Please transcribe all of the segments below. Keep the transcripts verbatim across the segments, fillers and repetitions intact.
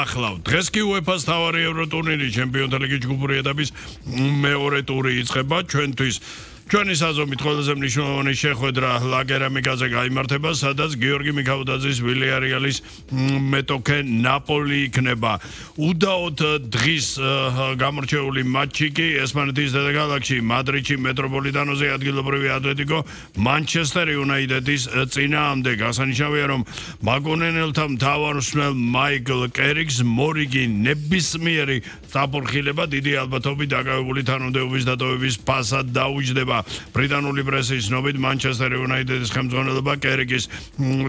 ახლავ. დღეს კი UEFA-ს თავარი ევროტურნირი ჩემპიონთა ლიგის ჯგუფური ეტაპის მეორე ტური იწყება ჩვენთვის. ჩვენი საზომით ყველაზე მნიშვნელოვანი შეხვედრა ლაგერამიკაზე გაიმართება, სადაც გიორგი მიქაუტაძის ვილიარეალის მეტოქე ნაპოლი იქნება. უდაოდ დღის გამორჩეული მატჩი კი ესპანეთის დედაქალაქში მადრიდში მეტროპოლიტანოზე ადგილობრივი ატლეტიკო მანჩესტერ იუნაიტედის წინააღმდეგ. აღსანიშნავია, რომ მაგონენელთა მთავარსმელ მაიკლ კერიგს მორიგი ნებისმიერი საფორხილება დიდი ალბათობით დაკავებული თანამდებობის დატოვების ფასად დაუჯდება. ბრიტანული პრესის ცნობით მანჩესტერ იუნაიტედის ხელმძღვანელობა კერიგის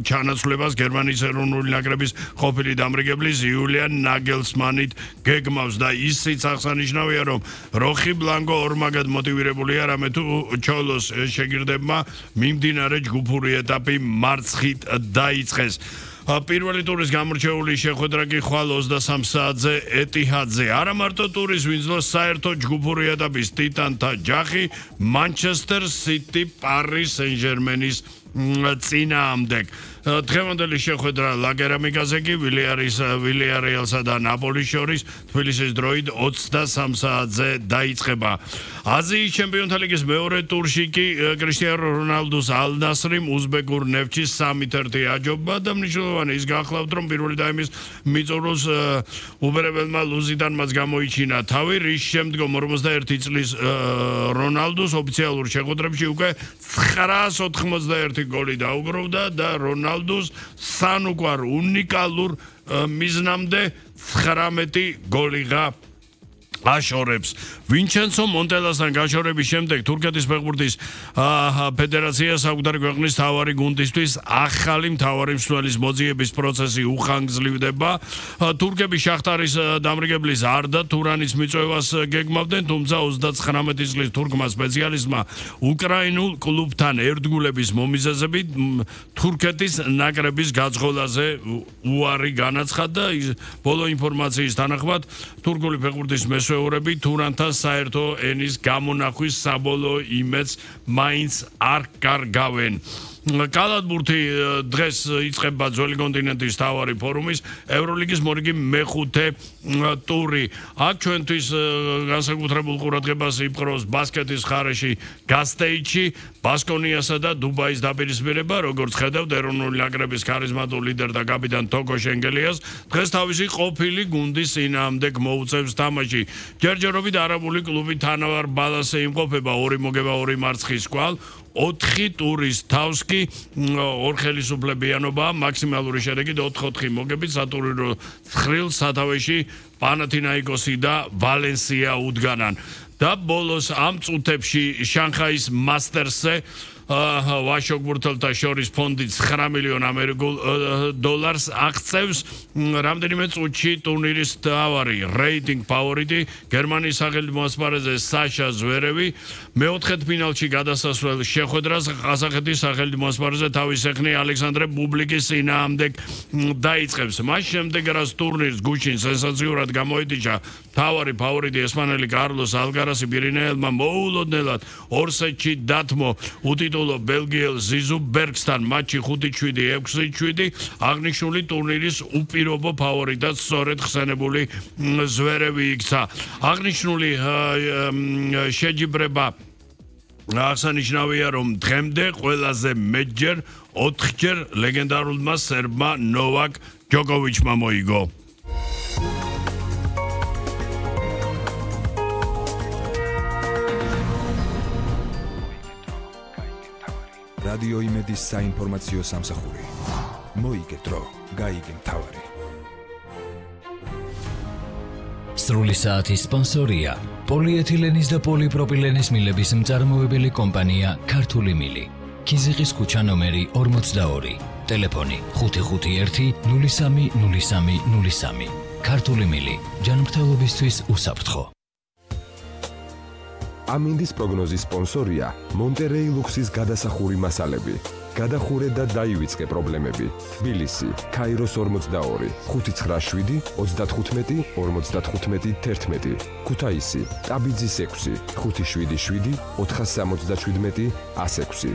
ჩანაცვლებას გერმანიის ეროვნული ნაკრების ყოფილი დამრიგებლის იულიან ნაგელსმანით გეგმავს და ისიც აღსანიშნავია, რომ როხი ბლანკო ორმაგად მოტივირებულია, რამე თუ ჩოლოს შეგირდებმა მიმდინარე ჯგუფური ეტაპი მარცხით დაიწყეს. პირველი ტურის გამორჩეული შეხვედრა კი ხვალ ოცდასამ საათზე ეტიჰადზე. არა მარტო ტურის ვინძლოს საერთო ჯგუფური ეტაპის ტიტანთა ჯახი მანჩესტერ სიტი პარი სენ-ჟერმენის წინააღმდეგ. დღევანდელი შეხვედრა ლაგერამიკაზე კი ვილიარეალსა და ნაპოლის შორის თბილისის დროით ოცდასამ საათზე დაიწყება. აზიის ჩემპიონთა ლიგის მეორე ტურში კი კრისტიანო რონალდუს ალ-ნასრიმ უზბეკურ ნეფჩი სამი ერთ აჯობა და მნიშვნელოვანი ის გახლავთ, რომ პირველი დაიმის მიწურულს უბერებელმა ლუზიდან მას გამოიჩინა თავი, რის შემდგომ ორმოცდაერთი წლის რონალდუს ოფიციალურ შეხვედრებში უკვე ცხრაას ოთხმოცდაერთი გოლი დაუგროვდა და რონალდუს სანუკვარ უნიკალურ მიზნამდე ცხრამეტი გოლიღა აშორებს. ვინჩენცო მონტელასთან გაშორების შემდეგ თურქეთის ფეხბურთის ფედერაციას საკუთარ ქვეყნის მთავარი გუნდისთვის ახალი მთავარი მსვლელის მოძიების პროცესი უხანგრძლივდება. თურქები შახტარის დამრიგებლის არდა თურანის მიწვევას გეგმავდნენ, თუმცა ოცდაცხრამეტი წლის თურქმა სპეციალისტმა უკრაინულ კლუბთან ერთგულების მომიზეზებით თურქეთის ნაკრების გაძღოლაზე უარი განაცხადა. ბოლო ინფორმაციის თანახმად თურქული ფეხბურთის მესვეურები თურანთა საერთო ენის გამონახვის საბოლოო იმედს მაინც არ კარგავენ. კალათბურთი დღეს იწყება ძველი კონტინენტის მთავარი ფორუმის ევროლიგის მორიგი მეხუთე ტური. აქ ჩვენთვის განსაკუთრებულ ყურადღებას იპყრობს ბასკეთის მხარეში გასტეიჩი, ბასკონიასა და დუბაის დაპირისპირება, როგორც ხედავთ ეროვნული ნაკრების ქარიზმატულ ლიდერ და კაპიტან თოკო შენგელიას დღეს თავისი ყოფილი გუნდის წინააღმდეგ მოუწევს თამაში. ჯერჯერობით არაბული კლუბი თანავარ ბალანსზე იმყოფება, ორი მოგება, ორი მარცხის კვალ. ოთხი ტურის თავს კი ორხელისუფლებიანობა მაქსიმალური შედეგით ოთხ ოთხი მოგებით სატურნირო ცხრილ სათავეში პანათინაიკოსი და ვალენსია უდგანან. და ბოლოს ამ წუთებში შანხაის მასტერსზე ვაშოგბურთელთა შორის ფონდი ცხრა მილიონ ამერიკულ დოლარს აღწევს. რამდენიმე წუთში ტურნირის მთავარი რეიტინგ ფავორიტი გერმანიის სახელმწიფო ასპარეზზე საშა ზვერევი მეოთხედ ფინალში გადასასვლელ შეხვედრას ყაზახეთის სახელმწიფო ასპარეზზე თავის ეხნი ალექსანდრე ბუბლიკის წინააღმდეგ დაიწყებს. მას შემდეგ რაც ტურნირს გუშინ სენსაციურად გამოეთიშა მთავარი ფავორიტი ესპანელი კარლოს ალკარასი პირინეელმა მოულოდნელად ორ სეტში დათმო უტიტულო ბელგიელ ზიზუ ბერგსთან მატჩი ხუთი შვიდი ექვსი შვიდი აღნიშნული ტურნირის უპირობო ფავორიტად სწორედ ხსენებული ზვერევი იქცა. აღნიშნული შეჯიბრება აღსანიშნავია, რომ დღემდე ყველაზე მეტჯერ ოთხჯერ ლეგენდარულმა სერბმა ნოვაკ ჯოკოვიჩმა მოიგო. რადიო იმედის საინფორმაციო სამსახური. მოიგე დრო, გაიგე მთავარი. სრული საათის სპონსორია პოლიეთილენის და პოლიპროპილენის მილების მწარმოებელი კომპანია ქართული მილი. ქიზიყის ქუჩა ნომერი ორმოცდაორი. ტელეფონი ხუთი ხუთი ერთი ნული სამი ნული სამი ნული სამი. ქართული მილი. ჯანმრთელობისთვის უსაფრთხო. ამინდის პროგნოზის სპონსორია მონტერეი ლუქსის გადასახური მასალები. გადახურე და დაივიწყე პრობლემები. თბილისი, ქაიროს ორმოცდაორი, ხუთი ცხრა შვიდი ოცდათხუთმეტი ორმოცდათხუთმეტი თერთმეტი. ქუთაისი, ტაბიძის ექვსი, ხუთი შვიდი შვიდი ოთხასამოცდაშვიდმეტი ასექვსი.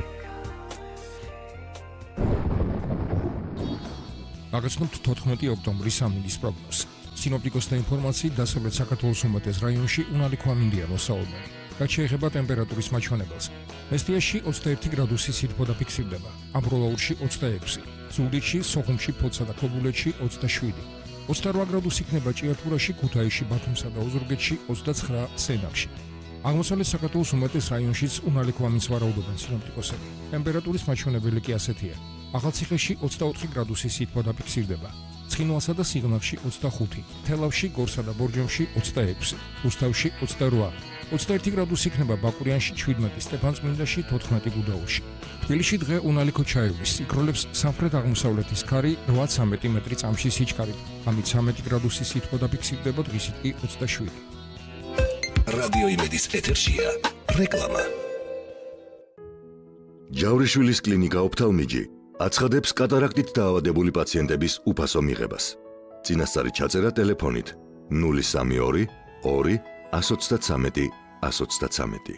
გაგაცნობთ თოთხმეტი ოქტომბრის ამინდის პროგნოზს. სინოპტიკოსთა ინფორმაციით, დასავლეთ საქართველოს უმეტეს რაიონში უნარი ქვამინდია მოსაუბნელი. რაც შეეხება ტემპერატურის მაჩვენებელს. მესტიაში ოცდაერთი გრადუსი სითბო დაფიქსირდება, ამბროლაურში ოცდაექვსი, ზუგდიდში, სოხუმში, ფოთსა და ქობულეთში ოცდაშვიდი. ოცდარვა გრადუსი იქნება ჭიათურაში, ქუთაისში, ბათუმსა და ოზურგეთში, ოცდაცხრა სენაკში. აღმოსავლეთ საქართველოს უმეტეს რაიონშიც უნარი ქვამინს ვარაუდობენ სინოპტიკოსები. ტემპერატურის მაჩვენებელი კი ასეთია. ახალციხეში ოცდაოთხი გრადუსი სითბო დაფიქსირდება. ცხინვალსა და სიღნაღში ოცდახუთი, თელავში, გორსა და ბორჯომში ოცდაექვსი, რუსთავში ოცდარვა, ოცდაერთი გრადუსი იქნება ბაკურიანში, შვიდმეტი, სტეფანწმინდაში, თოთხმეტი გუდაუთში. თბილისში დღე უნარი ქოჩაევის იკროლებს სამხრეთ-აღმოსავლეთის ქარი რვა-ცამეტი მეტრი წამში სიჩქარით. ამით ცამეტი გრადუსი სითბო დაფიქსირდება, დღისით კი ოცდაშვიდი. რადიო იმედის ეთერშია რეკლამა. ჯავრიშვილის კლინიკა ოფთალმიჯი აცხადებს კატარაქტით დაავადებული პაციენტების უფასო მიღებას. წინასწარი ჩაწერა ტელეფონით ნული სამი ორი ორი ათს ოცდათვრამეტი ათს ოცდათვრამეტი.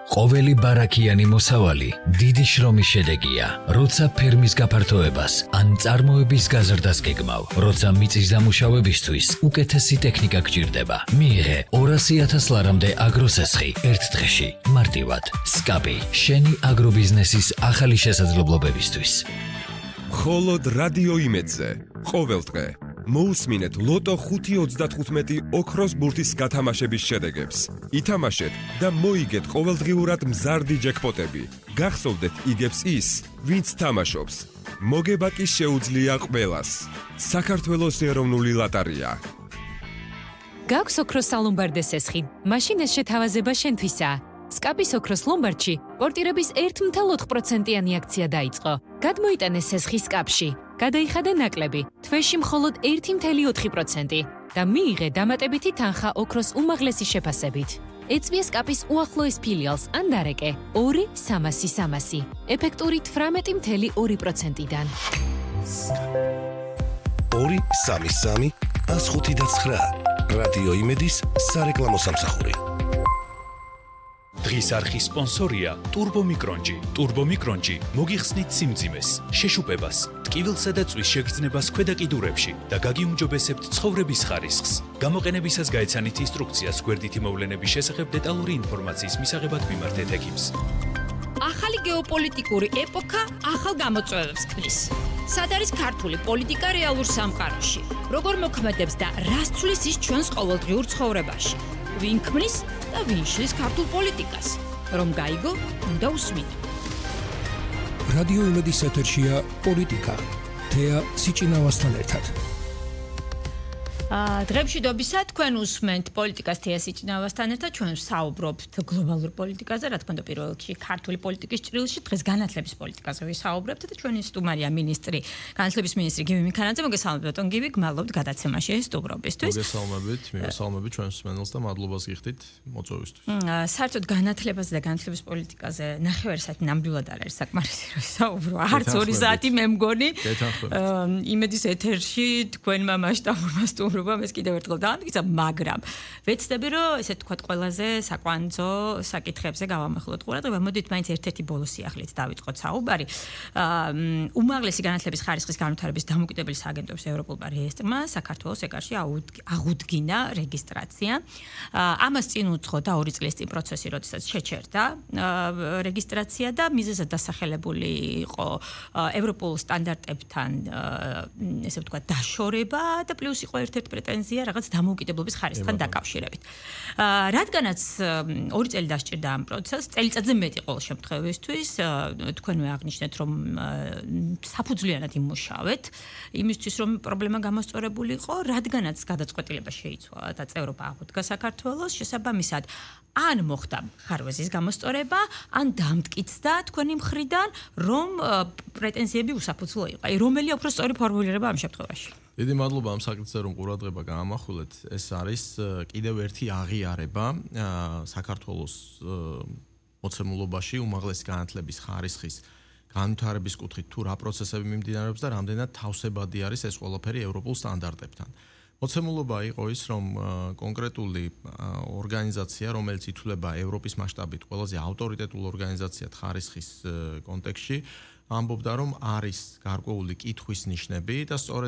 ყოველი ბარაქიანი მოსავალი დიდი შრომის შედეგია, როცა ფერმის გაფართოებას ან წარმოების გაზრდას გეგმავ, როცა მიწის დამუშავებისთვის უკეთესი ტექნიკა გჭირდება. მიიღე ორასი ათას ლარამდე აგროსესხი ერთ დღეში, მარტივად. სკაპი, შენი აგრობიზნესის ახალი შესაძლებლობებისთვის. მხოლოდ რადიო იმედზე ყოველ დღე მოусმინეთ ლოტო ხუთი ოცდათხუთმეტი ოქროს ბურთის გათამაშების შედეგებს. ითამაშეთ და მოიგეთ ყოველდღიურად მზარდი ჯეკპოტები. გახსოვდეთ იგებს ის, ვინც თამაშობს. მოგება კი შეუძლია ყველას. საქართველოს ეროვნული ლოტარია. გაქვს ოქროს სალომბარდე სესხი. მაშინ ეს შეთავაზება შენთვისაა. სკაპის ოქროს ლომბარდში პორტირების ერთ ოცდაოთხ პროცენტიანი აქცია დაიწყო. გადმოიტანე სესხი სკაპში. გადაიხადე ნაკლები, თვეში მხოლოდ ერთი ოცდაოთხი პროცენტი და მიიღე დამატებითი თანხა ოქროს უმაღლესი შეფასებით. ეწვია სკაპის უახლოეს ფილიალს ან დარეკე ორი სამასი სამასი, ეფექტური თვრამეტი ოცდაოთხი პროცენტიდან. ორი სამი სამი ათს ხუთი და ცხრა. რადიო იმედის სარეკლამო სამსახური. დღის არხის სპონსორია ტურბო მიკრონჯი. ტურბო მიკრონჯი მოგიხსნით სიმძიმეს, შეშუპებას, ტკივილსა და წვის შეგრძნებას ქვედა კიდურებში და გაგიუმჯობესებთ ცხოვრების ხარისხს. გამოყენებისას გაეცანით ინსტრუქციას გვერდითი მოვლენების შესახებ დეტალური ინფორმაციის მისაღებად მიმართეთ ექიმს. ახალი გეოპოლიტიკური ეპოქა ახალ გამოწვევებს ქმნის. სად არის ქართული პოლიტიკა რეალურ სამყაროში? როგორ მოქმედებს და რას ცვლის ის ჩვენს ყოველდღიურ ცხოვრებაში? ვინ ქმნის და ვინ შლის ქართულ პოლიტიკას? რომ გაიგო, უნდა უსმინო. რადიო იმედის ეთერშია პოლიტიკა. თეა სიჭინავასთან ერთად. დღემშვიდობისა თქვენ უსმენთ პოლიტიკას თეა სიჭინავასთან ერთად, ჩვენ საუბრობთ გლობალურ პოლიტიკაზე, რა თქმა უნდა პირველ რიგში ქართული პოლიტიკის ჭრილში, დღეს განათლების პოლიტიკაზე ვისაუბრებთ და ჩვენი სტუმარია მინისტრი, განათლების მინისტრი გივი მიქანაძე. მოგესალმებით ბატონ გივი, გმადლობთ გადაცემაში სტუმრობისთვის. მოგესალმებით, მივესალმებით ჩვენს მსმენელს და მადლობას გიხდით მოწვევისთვის. საერთოდ განათლებაზე და განათლების პოლიტიკაზე ნახევარი საათი ნამდვილად არ არის საკმარისი რომ ვისაუბრო. არც ორი საათი მე მგონი. იმედის ეთერში თქვენმა მასშტაბურმა სტუმრობამ ეს კიდევ ერთხელ დაამტკიცა, მაგრამ ვეცდები რომ ესე თქვა ყველაზე საკვანძო საკითხებზე გავამახვილოთ ყურადღება. მოდით მაინც ერთ-ერთი ბოლო სიახლით დავიწყოთ საუბარი. უმაღლესი განათლების ხარისხის განვითარების დამოუკიდებელი სააგენტოების ევროპულმა რეესტრმა საქართველოს ეკარში აღუდგინა რეგისტრაცია. ამას წინ უძღოდა ორი წლის წინ პროცესი, როდესაც შეჩერდა რეგისტრაცია და მიზეზად დასახელებული იყო ევროპულ სტანდარტებთან ესე ვთქვათ დაშორება და პლუს იყო ერთ-ერთი პრეტენზია რაღაც დამოუკიდებლობის ხარისხთან დაკავშირებით. რადგანაც ორი წელი დასჭირდა ამ პროცესს, წელიწადზე მეტი ყოველ შემთხვევისთვის, თქვენვე აღნიშნეთ, რომ საფუძვლიანად იმუშავეთ, იმისთვის რომ პრობლემა გამოსწორებული იყო, რადგანაც გადაწყვეტილება შეიცვალა და წევრობა აღუდგა საქართველოს, შესაბამისად ან მოხდა ხარვეზის გამოსწორება, ან დამტკიცდა თქვენი მხრიდან, რომ პრეტენზიები უსაფუძვლო იყო. აი, რომელი უფრო სწორი ფორმულირება ამ შემთხვევაში? დიდი მადლობა ამ საკითხზე რომ ყურადღება გაამახვილეთ. ეს არის კიდევ ერთი აღიარება საქართველოს მოცემულობაში უმაღლესი განათლების ხარისხის განვითარების კუთხით თუ რა პროცესები მიმდინარეობს და რამდენად თავსებადი არის ეს ყველაფერი ევროპულ სტანდარტებთან. მოცემულობა იყო ის, რომ კონკრეტული ორგანიზაცია, რომელიც ითვლება ევროპის მასშტაბით ყველაზე ავტორიტეტულ ორგანიზაციად ხარისხის კონტექსტში, ამბობდა, რომ არის გარკვეული კითხვის ნიშნები და სწორედ